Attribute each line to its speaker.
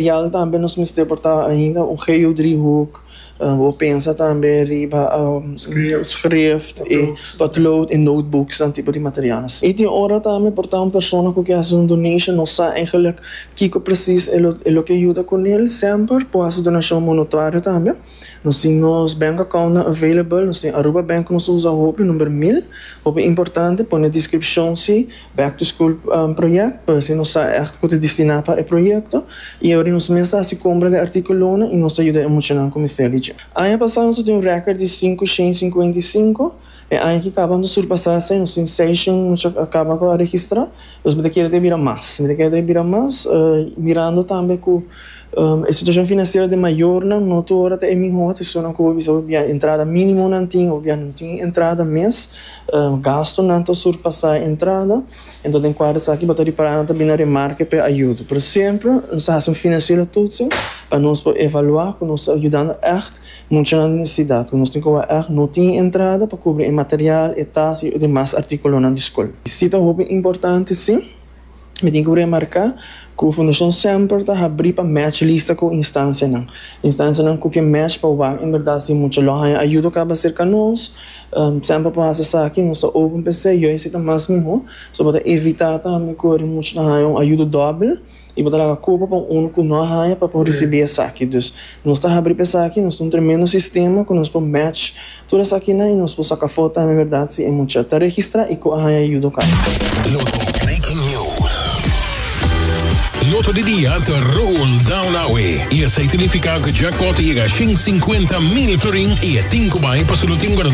Speaker 1: Material tambe nos mester por ta ainda un geodriehoek, bo pensa tambe riba schrift y potlood y notebooks nan tipo di materialnan. Y tin ora tambe por ta un persona cu ke haci un donation no sa eigenlijk kico precies e lo e lo ke yuda cu nel, semper por haci donacion monetario tambe. Nos tin nos bank accountnan available, nos tin Aruba Bank cu nos ta usa hopi, number mil, hopi importante pone descripcion si. Back to School project, pa asina nos sa ègt ku ta destiná pa e proyekto i ora nos mes ta hasi kompra di artíkulonan i nos ta yuda e muchanan ku mester di dje. Aña pasá nos a tin un rèkòrt di sinku shen sinkuenta i sinku, e aña ki kaba nos a surpasá esei, nos tin seis shen mucha a kaba ku a registrá, dus mi ta kere ta e bira mas, mi ta kere ta e bira mas mirando tambe ku e situashon finansiero di mayornan no tur ora ta e mihó, ta esunnan ku bo bisa bo bia entrada mínimo nan tin, bo bia no tin entrada mes. Gastunan ta surpasá e entrada, enton den kuadro esaki bo ta ripará nan ta bini na remarke pa e ayudo. Pero semper nos ta hasi un finansiero toetsing pa nos por evaluá ku nos ta yudando ègt muchanan di nesesidat, ku nos tin ku wak ègt no tin entrada pa kubri e material, e tas i demas artíkulonan di skol. Si ta hopi importante si. Mi tin ku remarká ku Fundashon semper ta habrí pa match lista ku instansianan. Instansianan ku ke match pa wak en bèrdat si mucha lo haña ayudo kaba serka nos. Semper por hasi esaki, nos ta open pa esei. Yo esei ta mas mihó. So bo ta evitá tambe ku ora mucha ta haña un ayudo dòbel i bo ta laga kopa pa un unu ku no a haña pa por risibí esaki. Dus nos ta habrí pa esaki, nos ta un tremendo sistema ku nos por match Tur esakinan i nos por saca afó tambe berdad si e mucha ta registra i cu a haña ayudo caba.
Speaker 2: Lotto Breaking News. Lotto di dia ta roll down awe y esey ta nifica cu jackpot ta yega 150 mil florin y e tin cu bay pasobra no tin un.